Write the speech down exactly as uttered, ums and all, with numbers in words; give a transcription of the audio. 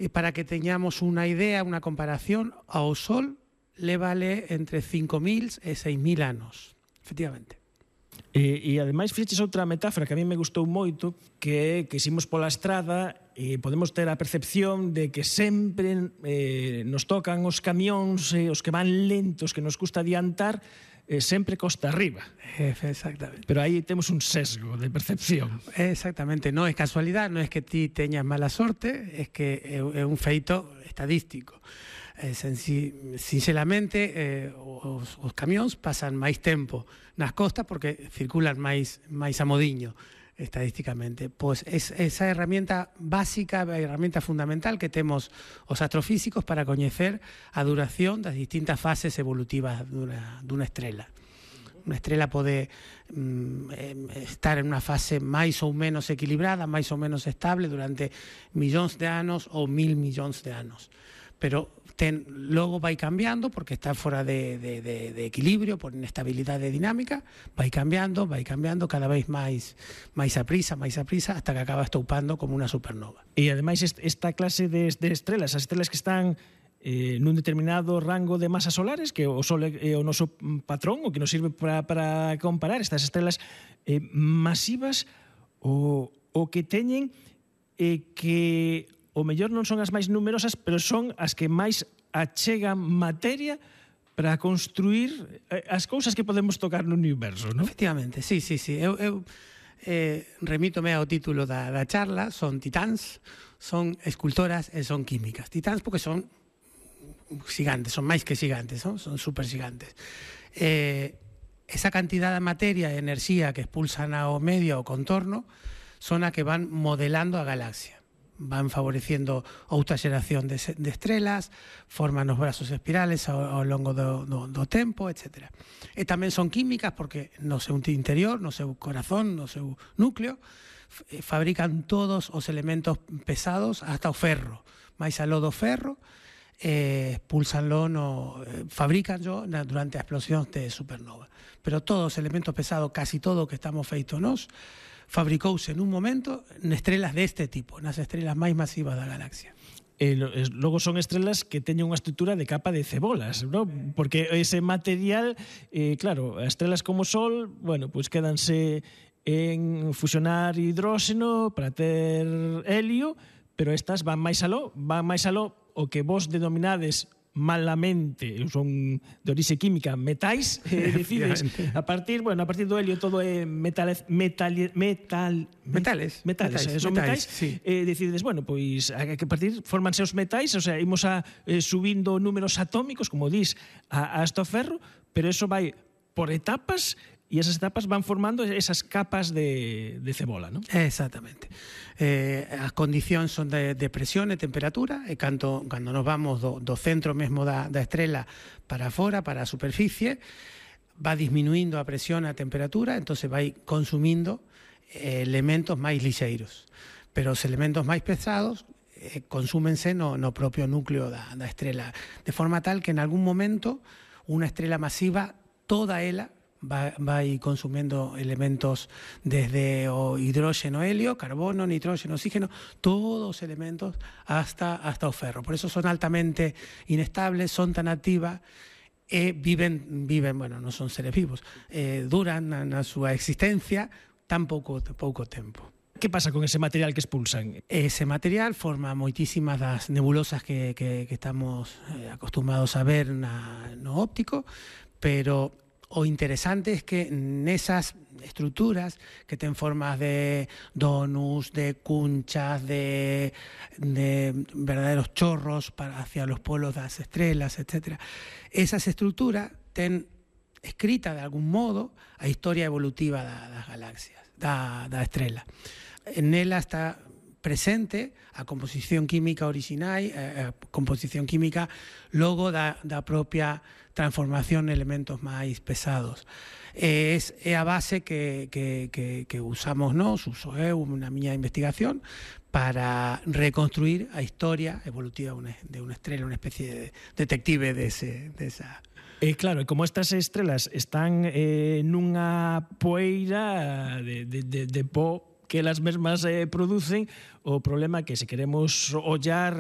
E para que teñamos unha idea, unha comparación, ao Sol lévale entre cinco mil e seis mil anos, efectivamente. E, e ademais fixeches outra metáfora que a mí me gustou moito, que é que ximos pola estrada e podemos ter a percepción de que sempre eh, nos tocan os camións, eh, os que van lentos, que nos custa adiantar, eh, sempre costa arriba. Exactamente. Pero aí temos un sesgo de percepción. Exactamente, non é casualidade, non é que ti teñas mala sorte, é que é un feito estadístico. Eh, sinceramente, eh, os, os camións pasan máis tempo nas costas porque circulan máis, máis a modiño, estadísticamente. Pois es, esa herramienta básica, a herramienta fundamental que temos os astrofísicos para coñecer a duración das distintas fases evolutivas dunha, dunha estrela. Unha estrela pode mm, estar en unha fase máis ou menos equilibrada, máis ou menos estable durante millóns de anos ou mil millóns de anos. Pero ten, logo vai cambiando porque está fora de, de, de, de equilibrio por inestabilidade dinámica, vai cambiando, vai cambiando cada vez máis máis a prisa, máis a prisa, hasta que acaba estoupando como unha supernova. E ademais esta clase de, de estrelas, as estrelas que están eh, nun determinado rango de masas solares, que o Sol é o noso patrón, o que nos sirve para, para comparar estas estrelas eh, masivas, o, o que teñen eh, que o mellor non son as máis numerosas, pero son as que máis achegan materia para construir as cousas que podemos tocar no universo, non? Efectivamente, sí, sí, sí. Eu, eu eh, remítome ao título da, da charla, son titáns, son escultoras e son químicas. Titáns porque son gigantes, son máis que gigantes, non? Son super gigantes. Eh, esa cantidad de materia e enerxía que expulsan ao medio, ao contorno, son a que van modelando a galaxia. Van favoreciendo outra xeración de, de estrelas, forman os brazos espirales ao, ao longo do, do, do tempo, etcétera. E tamén son químicas porque no seu interior, no seu corazón, no seu núcleo, fabrican todos os elementos pesados hasta o ferro. Mais aló do ferro, eh, pulsanlo, no, eh, fabricanlo durante a explosión de supernova. Pero todos os elementos pesados, casi todo o que estamos feitos nós, fabricouse nun momento estrelas deste tipo, nas estrelas máis masivas da galaxia. E logo son estrelas que teñen unha estrutura de capa de cebolas, ¿no? Porque ese material, eh, claro, as estrelas como o Sol, bueno, pues quédanse en fusionar hidróxeno para ter helio, pero estas van máis aló, van máis aló o que vos denominades malamente, son de orixe química, metais, eh, decides a partir, bueno, a partir do helio todo é metal, metal, metal, metales, metales, metais, son metais, metais sí. eh, decides, bueno, pois a que partir formanse os metais, o sea, imos a eh, subindo números atómicos, como dis, a, hasta o ferro, pero eso vai por etapas e esas etapas van formando esas capas de, de cebola, non? Exactamente. Eh, as condicións son de, de presión e temperatura, e cando, cando nos vamos do, do centro mesmo da, da estrela para fora, para a superficie, va disminuindo a presión e a temperatura, entonces vai consumindo eh, elementos máis lixeiros. Pero os elementos máis pesados eh, consúmense no, no propio núcleo da, da estrela, de forma tal que en algún momento unha estrela masiva, toda ela, vai consumendo elementos desde o hidróxeno, helio, carbono, nitróxeno, oxígeno, todos os elementos hasta, hasta o ferro. Por eso son altamente inestables, son tan activas e viven, viven, bueno, non son seres vivos, eh, duran na, na súa existencia tan pouco, pouco tempo. Que pasa con ese material que expulsan? Ese material forma moitísimas das nebulosas que, que, que estamos eh, acostumados a ver na, no óptico, pero o interesante es que nesas estructuras que ten formas de donuts, de cunchas, de, de verdaderos chorros para hacia los polos das estrelas, etcétera, esas estructuras ten escrita de algún modo a historia evolutiva da, das galaxias, da, da estrela. En ela está presente a composición química original, a composición química logo da, da propia transformación en elementos máis pesados. É, é a base que, que, que, que usamos nós, uso eu na miña investigación, para reconstruir a historia evolutiva de unha estrela, unha especie de detective de, ese, de esa... E claro, como estas estrelas están eh, nunha poeira de, de, de, de pó que elas mesmas eh, producen, o problema é que se queremos ollar